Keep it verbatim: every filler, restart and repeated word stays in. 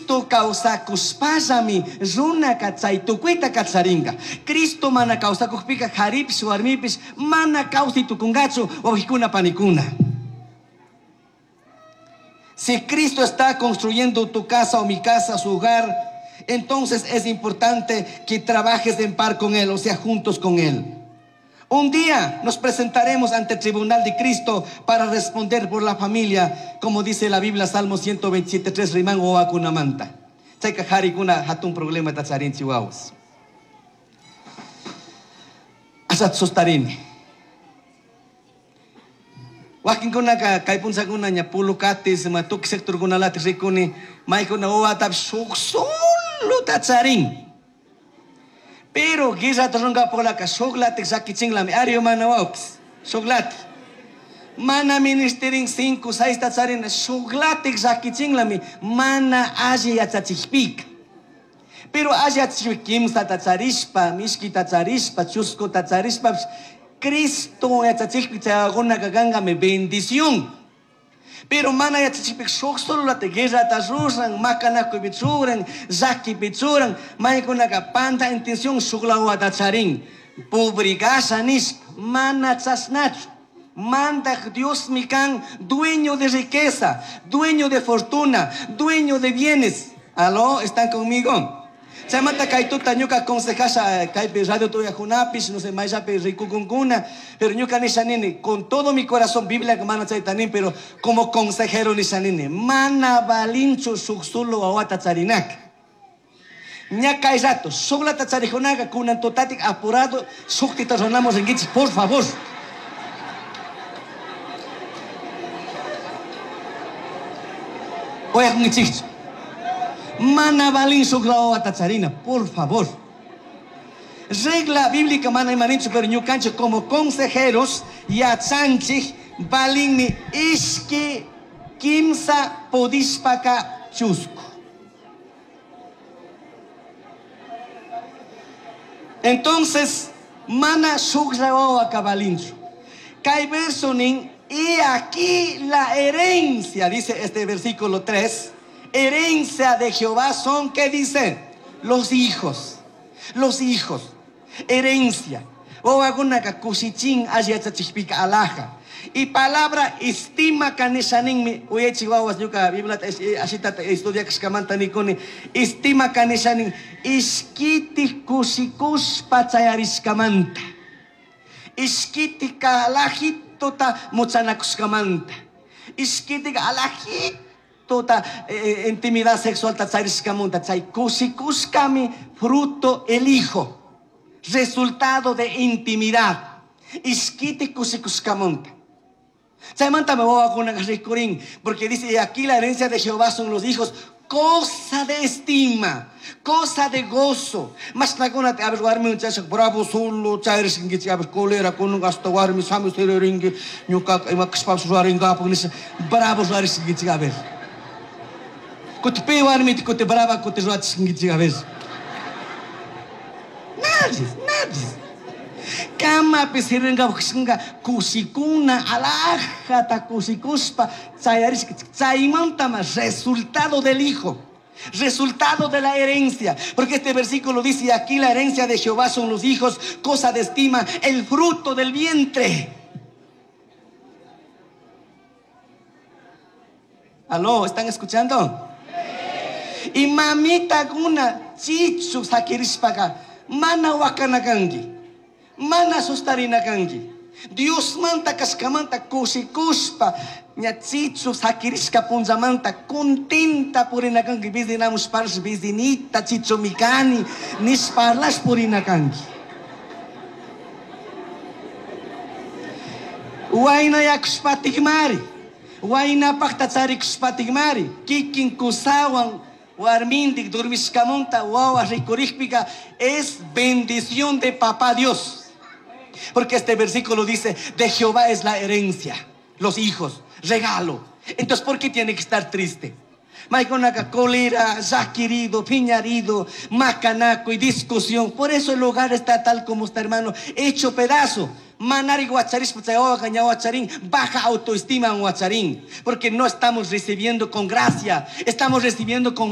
Cristo kawsakushpallami runaka chay tukuyta kacharinka. Cristo mana kawsakukpika karipish warmipish mana kawsay tukunkachu wawqikuna panikuna. Si Cristo está construyendo tu casa o mi casa, su hogar, entonces es importante que trabajes en par con Él, o sea, juntos con Él. Un día nos presentaremos ante el tribunal de Cristo para responder por la familia, como dice la Biblia, Salmo ciento veintisiete tres, riman wawakunamanta. Chayka harikuna hatun problema tacharinchi wawas. Asat sustarini. Wakinkunaka kay punchakuna ña pulukatis, ma tukuy sectorkunalati rikuni, maykuna wawatapish shuk solo tacharin. Pero guerra runkapuklaka shuklatik llakichinlami, ari mana wawkis, shuklatik. Mana ministerin cinco, seis tacharina, shuklatik llakichinlami, mana alli yachachikpika. Pero alli yachachikpika, kimsa tacharishpa, mishki tacharishpa, chusku tacharishpa, Cristo yachachikpi chaywakunaka kankami bendición. Pero mana yachachikpika shuk sololata guerrata ruran, makanakuypi churan, llakipi churan, maykunaka panta intención shuk lawata charin. Publicasha nishpa, mana chashnachu. Mandak Dios mi kan, dueño de riqueza, dueño de fortuna, dueño de bienes. Aló, ¿están conmigo? Chaymanta kaytuta ñuka aconsejasha kaypi radio tuya junapish, no sé, mayllapi rikukunkuna, pero ñuka nisha nini, con todo mi corazón, Biblia mana chayta nin, pero como consejero nisha nini, mana balinchu shuk solo wawata charinaka. Ña kay rato, shuklata charijunaka, kunan tutatik apurado, shuktita ronamos rinkichik, por favor. Oyakunkichikchu. Mana balin shuk wawata charina, por favor. Regla bíblica mana imaninchu, pero ñukanchik como consejeros yachanchik balinmi ishki kimsa pudishpaka chusku. Entonces, mana shuk wawaka balinchu. Kay verso nin, y aquí la herencia, dice este versículo tres, herencia de Jehová son, ¿qué dice? Los hijos, los hijos, herencia. Wawakunaka kushichin alli yachachikpika alaja. Y palabra estima kanishaninmi, uyachi wawas ñuka Bibliata es-, eh, ashitata estudiakashkamanta nikuni, estima kanishanin, ishkiti kushikushpa chayarishkamanta, ishkiti kalajitota muchanakushkamanta, ishkiti alajito tota, eh, eh, intimidad sexual ta charishkamunta, chay kushikushkami fruto el hijo, resultado de intimidad, ishkiti kushikushkamunta. Chaymanta me voy a con rikurin, porque dice, y aquí la herencia de Jehová son los hijos, cosa de estima, cosa de gozo. Mas laguna te abres warmi un chacho, bravo solo, chairis ingi, te abres colera con un gasto warmi, sami sele ringi, ñuka, ima kishpa suaringa, porque dice, bravo suaris ingi, te abres. Kuti pe warmi, te kuti brava, kuti ruachis ingi, te abres. Nadie, nadie. Kama pisiringa buksinga kusikuna alajata kusikuspa chayaris chaymantama resultado del hijo, resultado de la herencia, porque este versículo dice, y aquí la herencia de Jehová son los hijos, cosa de estima, el fruto del vientre. Aló, ¿están escuchando? Y mamita guna chichu sakirispaga mana wakanakangi, mana sustarinakangi. Dios manta kaskamanta kusikuspa ña chichu sakirishka punzamanta contenta purinakangi, bizinamus pars bizinita chichu mikani nisparlas purinakangi. Wayna yakushpatikmari, wayna pakta charikushpatikmari, kikin kusawan warmindik durmishkamunta wawa rikurikpika es bendición de papá Dios. Porque este versículo dice, de Jehová es la herencia, los hijos, regalo. Entonces, ¿por qué tiene que estar triste? Maikonaka, cólera, zaquirido, piñarido, macanaco y discusión. Por eso el hogar está tal como está, hermano, hecho pedazo. Manari guacharis, puchayoa, caña guacharín, baja autoestima en guacharín. Porque no estamos recibiendo con gracia, estamos recibiendo con